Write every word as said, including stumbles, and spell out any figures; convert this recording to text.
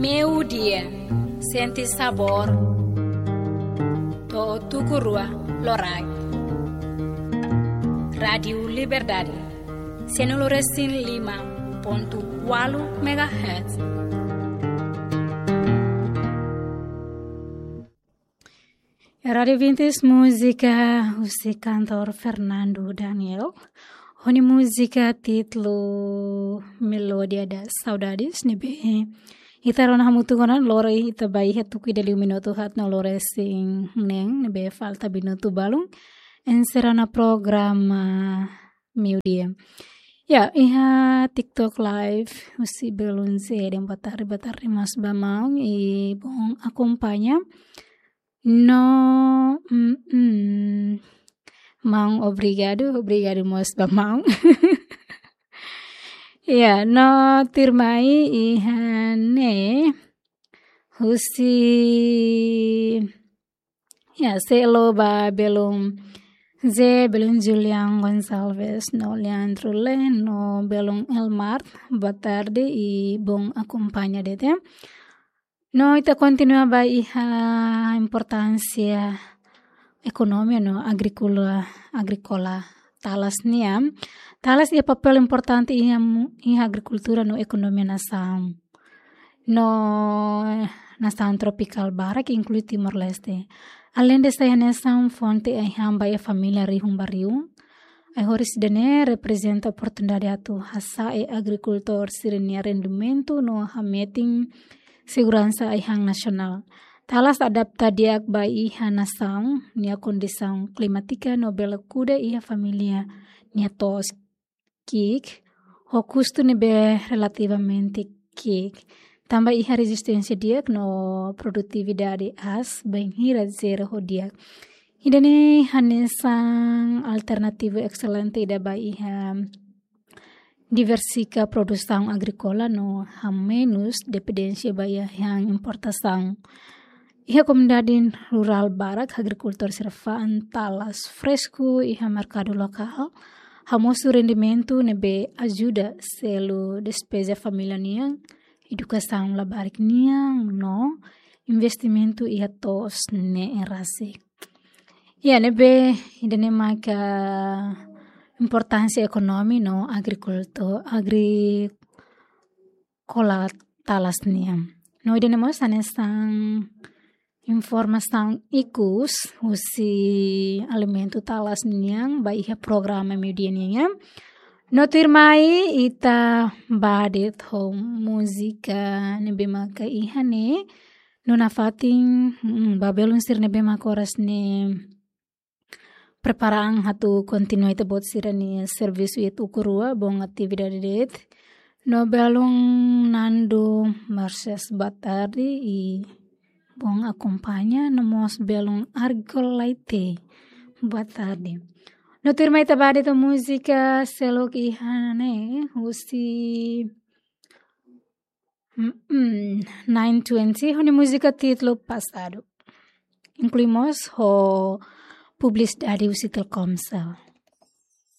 Meiudia, sente sabór. To'o tuku rua loraik. Rádiu Liberdade, sianulu resin lima pontu ualu megahertz. Rádiu Vintes, múzika husi kantór Fernando Daniel. Ho nia múzika títulu Melódia das Saudades, ne'ebé ita rona hamutuk ona, lori ita ba iha tuku ida liu minutu haat no loro resin neen, ne'ebé falta minutu balun enserra ona programa meiudia. Ya, iha TikTok Live, husi belun Zeden, boa tarde, boa tarde mós ba maun, i bom akompaña. No, mm, mm. Maun, obrigadu, obrigadu mós ba maun. Ya, no tuirmai iha ne'e, husi, ya, selo ba belun Ze, belun Julian Gonçalves, no Leandro Len, no belun Elmar, boa tarde i bom akompaña de'it. No ita kontinua ba iha importánsia ekonomia no agríkola, agríkola talas nian. Talas iha papél importante iha mu-, iha agrikultura no ekonomia nasaun. No nasaun tropikál barak, inklui Timor-Leste. Aleinde sai hanesan fonte ai-han ba iha família rihun ba rihun, ai-horis ida-ne'e reprezenta oportunidade atu hasa'e agrikultór sira-nia rendimentu no hametin seguransa ai-han nasionál. Talas adapta di'ak ba iha nasaun nia kondisaun klimátika no bele kuda iha família nia to'os ki'ik, ho kustu ne'ebé relativamente ki'ik. Tanba iha rezisténsia di'ak no produtividade aas, bainhira zere ho di'ak. Ida-ne'e hanesan alternativu excelente ida ba iha diversifika produsaun agríkola no hamenus dependénsia ba iha importasaun. Iha komunidade rurál barak, agrikultór sira fa'an talas fresku iha merkadu lokál, hamosu rendimentu ne'ebé ajuda selu despeza família nian, edukasaun labarik nian no investimentu iha to'os ne'e rasik. Ya, ne'ebé ida-ne'e maka importánsia ekonomi no agrikultu-, agríkola talas nian. No ida-ne'e mós hanesan informasaun ikus husi alimentu talas nian ba iha programa meiudia nian. No tuirmai ita ba de'it ho múzika ne'ebé maka iha ne'e. No nafatin, mm, ba belun sira ne'ebé maka oras ne'e prepara an atu kontinua ita-boot sira-nia servisu iha tuku rua, bom atividade de'it. No belun Nando Marcias, boa tarde i bom akompaña, no mós belun Argol Laite, boa tarde. No tuirmai ita ba de'it ho múzika seluk iha ne'e, husi, mm, mm, nine twenty, ho nia múzika títulu Passado. Inklui mós ho publisidade husi Telkomsel.